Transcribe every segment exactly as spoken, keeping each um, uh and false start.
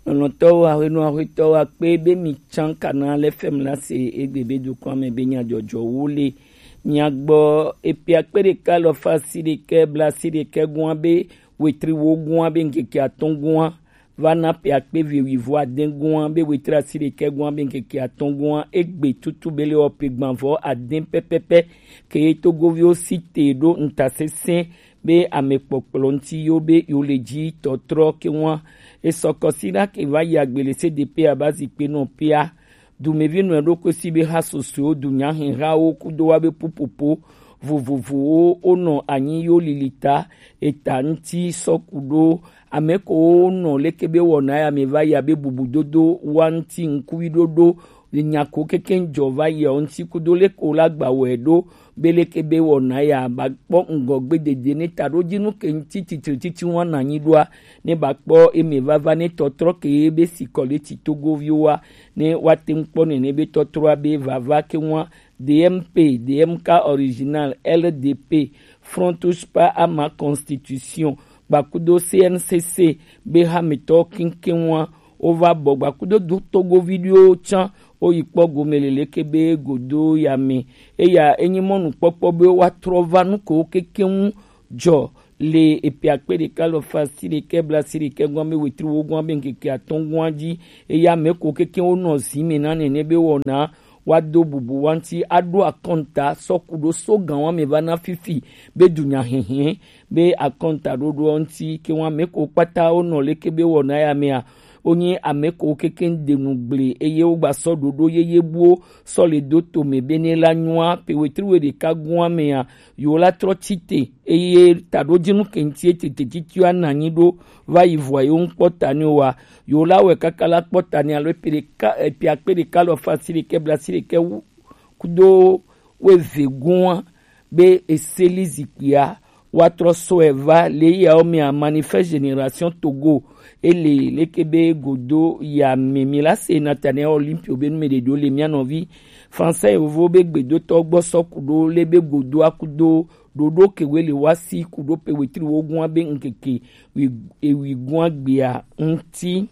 Lɔlɔ̃tɔwo, ahwenɔ ahwetɔwo akpe be mi tsã kana le fem la se egbe be dukɔa me be nyadzɔdzɔwo le mia gbɔ. Epe akpe ɖeka alafa asiɖe kɛ blaasiɖe kɛ gɔa be wetri wo gɔa be ŋkeke atɔ̃ gɔa va na pe akpe eve wuivo ade gɔa be wetri asiɖe kɛ gɔa be ŋkeke atɔ̃ gɔa egbe tutu be le wɔ pe gbanvɔ ade pɛpɛpɛ ke togoviwo si te ɖo ŋutasesẽ be amekpɔkplɔ ŋuti yo be yo le dzi tɔtrɔ ke ŋua. Esɔ kɔsiɖa ke va yi agbe le C D P aba zikpe nɔ pia. Dumevi nɔ ɖokui si be ha sosoewo, dunyahihawo kudo wa be pupopo vovovowo wonɔ anyi yo lili ta eta ŋuti sɔ ku ɖo ame ko wonɔ leke be wɔna ya me va yi abe bubudodo wa ŋuti ŋkuvi ɖoɖo nya ko kekeŋ jɔ va yi ŋuti kudo leke wo la gba wɔe ɖo be leke be wɔna ya ba kpɔ ŋgɔgbe dede ne ta ɖo dzi nu ke ŋuti titri titi wa na nyi ɖoa ne ba kpɔ eme vava ne tɔtrɔ ke be si kɔ le ti togoviwo wa ne wa te ŋu kpɔ nene be tɔtrɔa be vava ke ŋua D M P, D M K original, L D P, Front Spa à ma constitution, gbakudo C N C C be hametɔ keŋkeŋ wa wova bɔ gbakudo do togovi ɖewo tsã woyi kpɔ gome le leke be godo ya me. Eya enyi mɔnukpɔkpɔ be woatrɔ va nu kewo kekeŋ jɔ le epe akpe ɖeka alafa asiɖe kɛ blaasiɖe kɛ gɔa be wetri wo gɔa be ŋkeke atɔ̃ gɔa dzi. Eya me ko kekeŋ wonɔ zi me na nene be wɔna wa do bubu wa ŋuti aɖo akɔnta sɔ ku ɖo so gan wa me va na fifi be dunya hihi be akɔnta ɖoɖoa ŋuti ke wa me ko kpata wonɔ leke be wɔna ya mea wonye ame ko kekeŋ de nu gble eye wogba sɔ ɖoɖo yeye buwo sɔ le do to me be ne la nyua pe wetri we ɖeka gɔa mea yo la trɔ tsi te eye taɖodzinu ke ŋuti etete titi wa na nyi ɖo va yi vɔa yo ŋkpɔ ta ni wa yo la wɛ kaka la kpɔ ta ni alo epe ɖeka epe akpe ɖeka alafa asiɖe kɛ blaasiɖe kɛ wu kudo weve gɔa be eseli zikpuia wa trɔ sɔe va le yawo mea manifeste génération Togo ele leke be godo ya me mi la se Nathaniel Olympio be nu me ɖe ɖo le mia nɔvi français yovo be gbedotɔ gbɔ sɔ ku ɖo le be godo akudo ɖoɖo ke we le wa si ku ɖo pe wetri wo gɔa be ŋkeke wi ewi gɔa gbea ŋuti.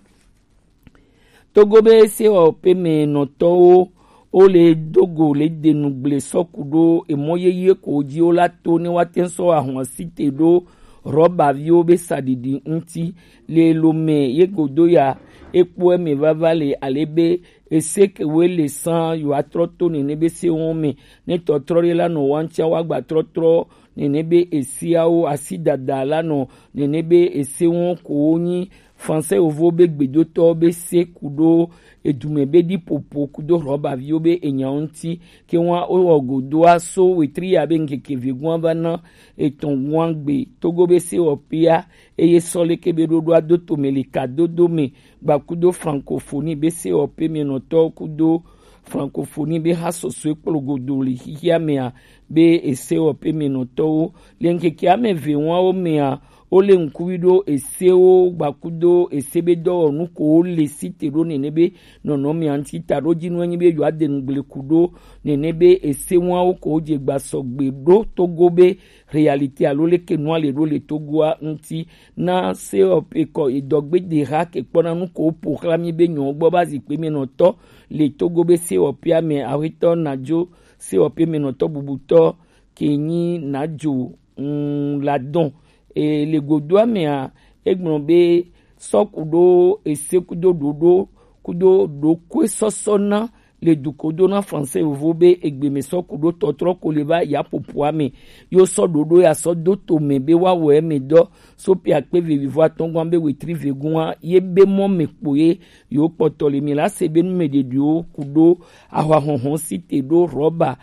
Togo be sewɔƒeme nɔtɔwo wo le do go le de nu gble sɔ ku ɖo emɔ yeye ko dzi wo la to ne wa te sɔ ahɔn si te ɖo rɔbaviwo be saɖiɖi ŋuti le lome ye godo ya ekpɔ eme vava le ale be ese ke wo le san yo atrɔ to nene be se wɔn me ne tɔtrɔ ɖe la nɔ wa ŋutia wa gba trɔtrɔ nene be esiawo asi dada la nɔ nene be ese wɔn ko wo nyi français yovo be gbedotɔ be se ku ɖo edume be ɖi popo kudo rɔbaviwo be enyawo ŋuti ke wa wo wɔ godoa so wetri ya be ŋkeke ve gɔa va na etɔn gɔa gbe togo be se wɔ pia eye sɔ leke be ɖoɖoa do to me le ka dodo me gba kudo francophonie be se wɔ pe me nɔtɔ kudo francophonie be ha sɔsɔe kplo godo le xixia mea be ese wɔ pe me nɔtɔwo le ŋkeke ame ve wɔawo mea wo le ŋkuvi ɖo esewo gbakudo ese be dɔwɔnu ko wo le si te ɖo nene be nɔnɔmea ŋuti ta ɖo dzi nu enyi be yewoa de nu gble ku ɖo nene be ese wɔawo ko wo dze gba sɔgbe ɖo togo be réalité alo leke nua le ɖo le togoa ŋuti na se wɔ pe kɔ edɔgbe de ha ke kpɔna nu ko wo po xla mi be nyɔ gbɔ ba zikpe me nɔtɔ le togo be se wɔ pea me ahwetɔ nadzo se wɔ pe me nɔtɔ bubutɔ ke nyi nadzo ŋu la dɔn. E, le godoa mea egblɔ be sɔ ku ɖo ese kudo ɖoɖo kudo ɖokui sɔsɔ na le du ko do na français yovo be egbe me sɔ ku ɖo tɔtrɔ ko le va ya popoa me yo sɔ ɖoɖo ya sɔ do to me be wa wɔ eme dɔ so pe akpe vevivo atɔngɔn be wetri vegun wa ye be mɔ me kpo ye yo kpɔtɔ le mi la se be nu me ɖeɖiwo ku ɖo ahwa hɔnhɔn si te ɖo rɔba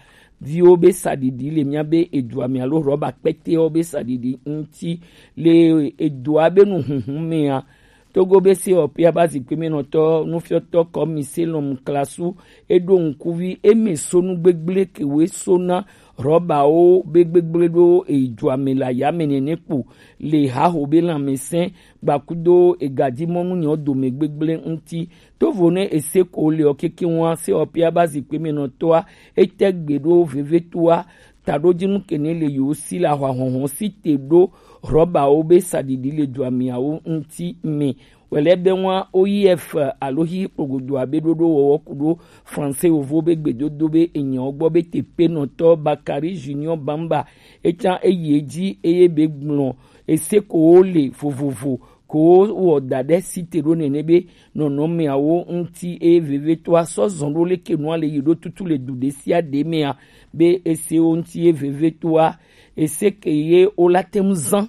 viwo be saɖiɖi le mía be edua me alo rɔba kpɛtɛwo be saɖiɖi ŋuti le edua be nu hunhun mea. Togo be se ɔpia ba zikpe me nɔtɔ nufiɔtɔ kɔmi selɔm klasu eɖo ŋkuvi eme sonu gbegble kewe sona rɔbawo be gbegble ɖo edua me le ayame nene kpo le haho be lãmesẽ gbakudo egadimɔnu nyɔ dome gbegble ŋuti. Tovo ne ese ko le ɔ keke ŋua se ɔpia ba zikpe me nɔtɔa ete gbe ɖo vevetoa taɖojinu kene le yewo si le ahwahɔnhɔn si te ɖo rɔbawo be saɖiɖi le duamiawo ŋuti me. Wɛlɛ be ŋua O I F alo xixi kpogodo abe ɖoɖo wɔwɔ ku ɖo Français yovo be gbedodo be enyawo gbɔ be tepenɔtɔ Bakari Junior Bamba etsa eyi edzi eye be gblɔ ese ko wo le vovovo ko wɔ da ɖe si te ɖo nene be nɔnɔmeawo ŋuti eye vevietɔa sɔ zɔn ɖo leke nua le yi ɖo tutu le du ɖe sia ɖe mea be esewo ŋuti ye vevietɔa ese ke ye wo la te ŋu zan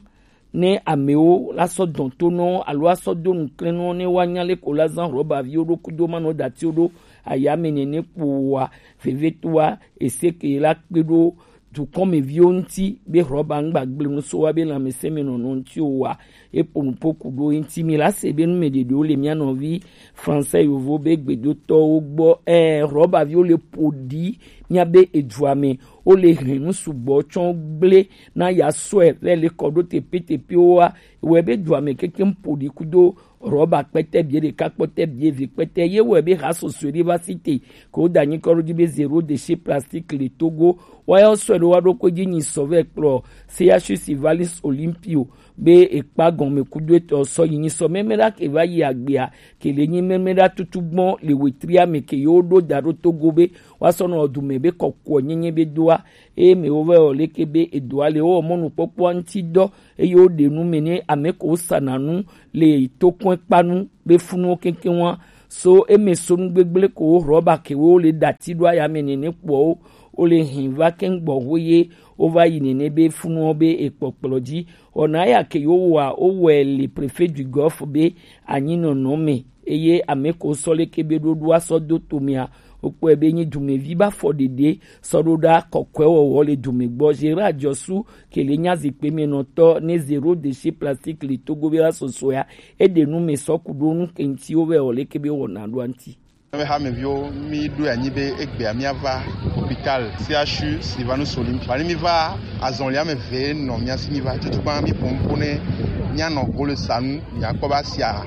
ne amewo la sɔ dɔn to nɔ alo asɔ do nuklɛnɔ ne woanya leke wo la zan rɔbaviwo ɖo kudo manɔ datiwo ɖo ayame nene kpoa vevietɔa ese ke ye la kpe ɖo dukɔmeviwo ŋuti be rɔba ŋgba gble nu so wa be lãmesẽmenɔnɔ ŋuti o wa. Eƒo nuƒo ku ɖo eŋuti mi la se be nu me ɖeɖewo le mía nɔvi Français yovo be gbedotɔwo gbɔ. Ɛ, rɔbaviwo le ƒo ɖi mía be edua me. Wo le hɛn nu sugbɔ tsɔ gble na ya sɔe vɛ le kɔ ɖo tepetepewo wa. Wɔe be dua me kekeŋ ƒo ɖi kudo rɔba kpɛtɛ bie ɖeka kpɔtɛ bie ve kpɛtɛ ye wɔe be ha sɔsɔe ɖe va si te ko da nyi kɔ ɖo dzi be zéro déchet plastique le Togo. Wa ya sɔe ɖo wa ɖo ko dzi nyi sɔ vɛ kplɔ C H U Sivalis Olympio be ekpa gɔme kudo etɔ sɔ yi nyi sɔ mɛmɛ ɖa ke va yi agbea ke le nyi mɛmɛ ɖa tutu gbɔn le wetria me ke yo ɖo da ɖo Togo be wa sɔ nɔ du me be kɔkɔ nyenye be doa eye me wo vɛ o leke be edoa le wo mɔnukpɔkpɔa ŋuti dɔ eye wo ɖe nu me ne ame ko wo sana nu le tokɔn kpanu be funuwo keŋkeŋ wa so eme so nu gbegble ko wo rɔba ke wo le dati ɖo aya me nene kpɔ wo wo le hin va keŋ gbɔ ho ye wo va yi nene be funuwo be ekpɔkplɔ dzi. Wɔna ya ke yo wa wo wɛ le préfet du Golfe be anyi nɔnɔ me eye ame ko sɔ leke be ɖoɖo asɔ do to mea wokpɔe be nyi dumevi ba fɔ ɖeɖe sɔ ɖo ɖa kɔkɔe wɔwɔ le dume gbɔ. Gérard Diossou ke le nya zikpe me nɔtɔ ne zéro déchet plastique le Togo be la sɔsɔ ya eɖe nu me sɔ ku ɖo nu ke ŋuti wo vɛ wɔ leke be wɔna ɖo ŋuti. Be hameviwo mi ɖo anyi be egbea mia va hôpital C H U Sylvanus Olympia. Ba ni mi va azɔlia me ve nɔ mia si mi va tutu kpa mi ƒo nuƒo ne mia nɔ golo sanu mia kpɔ ba sia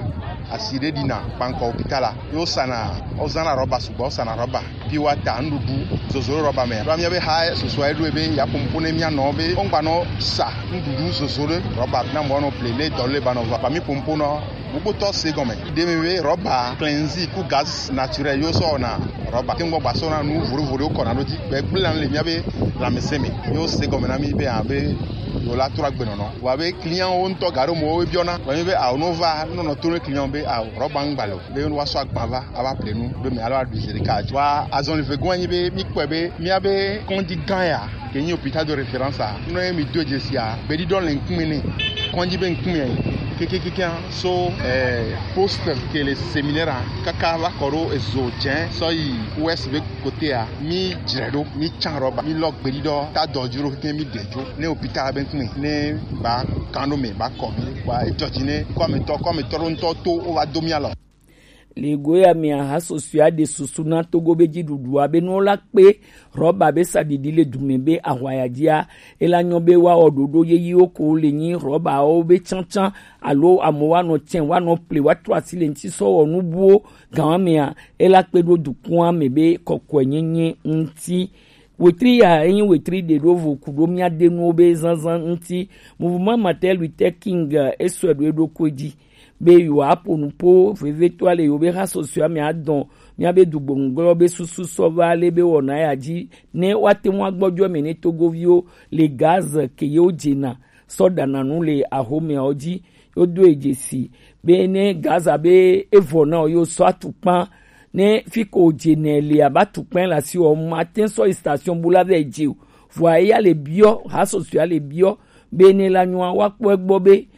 asi ɖe ɖina kpankɔ hôpital la. Yo sana, wozãna rɔba sugbɔ, wozãna rɔba. Pure water, nuɖuɖu, zozo ɖe rɔba me. Ɖo mía be ha susua eɖo be ya ƒo nuƒo ne mía nɔ be wogba nɔ sa nuɖuɖu zozo ɖe rɔba na mɔ nɔ ple ne dɔ le ba nɔ va. Ba mi ƒo nuƒo nɔ. Gbogbo tɔ se gɔme. Ɖe mi be rɔba, cleansing ku gaz naturel yo sɔ na rɔba. Te ŋgbɔ gba sɔ na nu voɖo voɖo kɔ na ɖo dzi. Gbe gble na le mía be lãmesẽ me. Yo se gɔme na mi be abe yo la trɔ agbenɔnɔ. Wa be client wo ŋutɔ ga ɖo mo wo biɔna. Wa mi be awo no va nɔnɔ to ne client be awo rɔba ŋgba le o. Be wa sɔ agba va. Ava ple nu be mi alo aɖu zi ɖeka. Wa azɔli vegɔ̃ anyi be mi kpɔe be mía be kɔdzi gã ya ke nyi hôpital de référence a nɔ ye mi do dzesia gbeɖiɖɔ le ŋkume ne kɔdzi be ŋkume kekekeke so eh, poste ke le séminaire a kaka va kɔ ɖo ezo dze sɔ yi ouest be kotea mi dzre ɖo mi tsan rɔba mi lɔ gbeɖiɖɔ ta dɔ dzi ɖo keke mi ɖe dzo ne hôpital be ŋkume ne ba kan ɖo me ba kɔ mi wa edzɔ dzi ne kɔmetɔ kɔmetɔ ɖo ŋutɔ to wo va do mía lɔ. Le go ya mea, ha susɔea ɖe susu na Togo be dziɖuɖua be nuwo la kpe rɔba be saɖiɖi le dume be ahwaya dzia, ela nyɔ be woawɔ ɖoɖo yeyiwo ko le nyi rɔbawo be tsantsan alo amewo anɔ tsɛ woanɔ ple woatrɔ asi le ŋuti sɔ wɔ nubuwo gã mea, ela kpe ɖo dukɔa me be kɔkɔenyenye ŋuti. Wetri ya enyi wetri ɖe ɖo vo ku ɖo mía de nuwo be zanzan ŋuti. Mouvement Martin Luther King esɔe ɖo eɖokui dzi be yewoaƒo nuƒo vevitɔa le yewo be hasɔsɔa me adɔn míabe dugbɔnugblɔ be susu sɔ va ale be wɔna ya dzi ne woate ŋu agbɔdzɔ eme ne togoviwo le Gaza ke yewo dzena sɔ ɖana nu le ahomeawo dzi. Wodo ye dzesi be ne Gaza be evɔ na wo, yewo sɔ atukpa ne fi ko dze nɛ le abe atukpa le asi wɔ mate sɔ yi station bu la vɛ dze o. Vɔa eya le biɔ, hasɔsɔa le biɔ be ne la nyɔa woakpɔ egbɔ be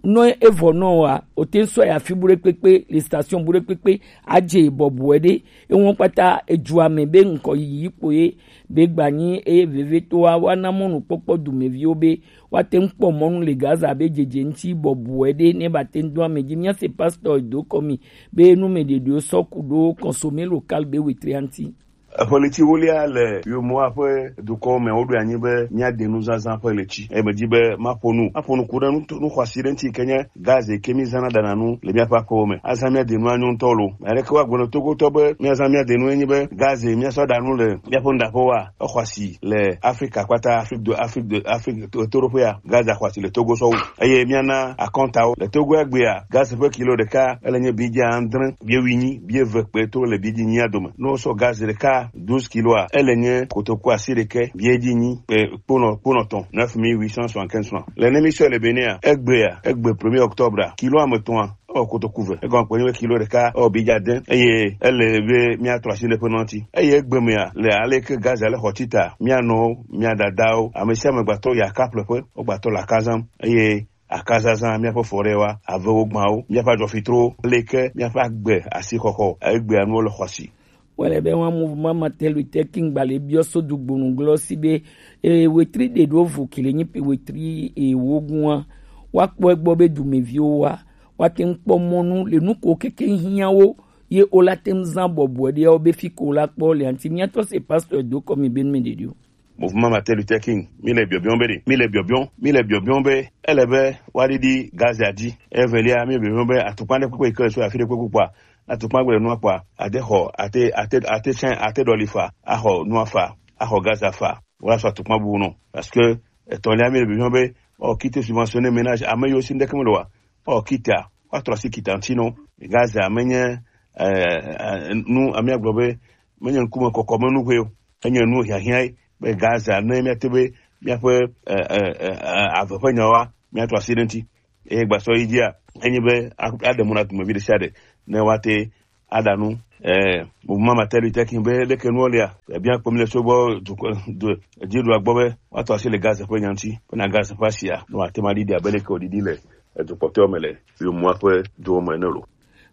nɔ evɔ nɔ wa o te sɔ ya fi bu ɖe kpekpe le station bu ɖe kpekpe adze bɔbɔe ɖe eŋɔ kpata edzua me be ŋkɔ yiyi kpo ye be gbanyi eye vevitɔa woana mɔnukpɔkpɔ dumeviwo be woate ŋu kpɔ mɔnu le Gaza be dzedze ŋuti bɔbɔe ɖe ne bate ŋu do ame dzi. Míase pastor do kɔ mi be nu me ɖeɖewo sɔ ku ɖo consommé local be wetria ŋuti. Eƒe ɣleti ewolia le Yomoa ƒe dukɔwo me, woɖo anyi be míade nu zazã ƒe ɣleti. Eye medi be maƒo nu, maƒo nu ku ɖe nu, nu xɔasi ɖe ŋuti yi ke nye gaz yi ke mízãna ɖana nu le míaƒe aƒewo me. Azã míade nua nyo ŋutɔ lo. Ame aɖeke woagblɔ na Togotɔ be míazã míade nu enye be gaz yi míasɔ ɖa nu le míaƒe nuɖaƒewoa, exɔ asi le Afrika kpata, Afrique de, Afrique de, Afrique to-, toɖoƒea, gaz xɔ asi le Togo sɔwu. Eye míana akɔntawo. Le Togo egbea, gaz ƒe kilo ɖeka, ele nye bidja adre, bie wuienyi, bie eve kpe to le bidji nyia dome. Ne wosɔ gaz ɖeka douze kiloa, ele nye kotoku asiɖekɛ, bie dzi nyi, kpe kponɔ, kponɔ tɔn, neuf mille huit cent soixante-quinze francs. Le ne mi sɔe le Bénin a, egbea, egbe premier octobre a, kilo ame etɔ̃a, ewɔ kotoku ve. Egɔme kpe nye be kilo ɖeka ewɔ bidja ade, eye ele be míatrɔ asi le ƒe nɔti. Eye egbe mea, le ale ke gaz ale xɔ tita, mía nɔwo, mía dadawo, ame sia ame gbatɔ yi aka ƒleƒe, wogbatɔ le aka zãm, eye akazazã, míaƒe forêtwoa, avewo gbãwo, míaƒe adzɔfitrowo, ale ke míaƒe agbe asixɔxɔ, egbea nuwo le xɔ asi. Wale be wa mouvement Martin Luther King gbalẽ biɔ so dugbonu glɔ si be, e, wetri ɖe ɖo vo kele nyi pe wetri e wo gua, wa kpɔ egbɔ be dumeviwo wa, wa te ŋu kpɔ mɔnu le nu ko keke hiã wo, ye o la te ŋu zã bɔbɔe ɖe wo be fi ko la kpɔ le anti mía tɔ se pasteur do kɔ mi be nu me ɖeɖi o. Mouvement Martin Luther King, mi le biɔbiɔ be ɖe, mi le biɔbiɔ, mi le biɔbiɔ be ele be wa ɖiɖi gazia dzi. Evelia, mi le biɔbiɔ be atukpa ɖe kpekpe yi ke le so afi ɖe kpekpe kpɔa, atukpa gbe le nua kpɔa, ate xɔ, ate, ate, ate tsɛ, ate ɖɔli fa, axɔ nua fa, axɔ gaza fa, wala sɔ atukpa bubu nɔ. Parce que etɔ̃lia, mi le biɔbiɔ be, ɔ, quitte subventionner ménage, ame yiwo si ŋɖeke me le wa, ɔ, quitte a, wa trɔ asi quitte a ŋuti nɔ. Gaza menye, eh, eh, nu, amia gblɔ be, menye ŋkume kɔkɔ me nuxue o. Enye nu hiahiã ye be Gaza ne míate be míaƒe, e, e, e, e, ave ƒe nyawoa, míatrɔ asi ɖe ŋuti. Eye gbasɔ yi dzia, enye be a-, aɖe mɔ na dumevi ɖe sia ɖe ne woate aɖa nu. E, mouvement Martin Luther King be leke nuwo lia, ebia kpɔ mi le so gbɔ dukɔ, du-, dziɖula gbɔ be woatrɔ asi le Gaza ƒe nya ŋuti, bena Gaza ƒe asia ne wòate ŋu aɖiɖi abe leke wòɖiɖi le edukpɔtɔewo me le Yomoa ƒe duwo me ene lo.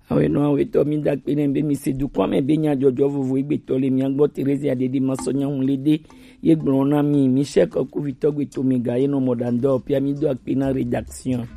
Awe nɔ awe tɔ mi da kpe ne be mi se dukɔ me be nya jɔjɔ vovo egbe tɔ le mia gbɔ. Teresia Dede ma sɔ nya ŋu le de ye gblɔ na mi, mi se kɔ kuvitɔ gbe to mi ga ye nɔ mɔ ɖa ŋdɔ pia mi do akpe na rédaction.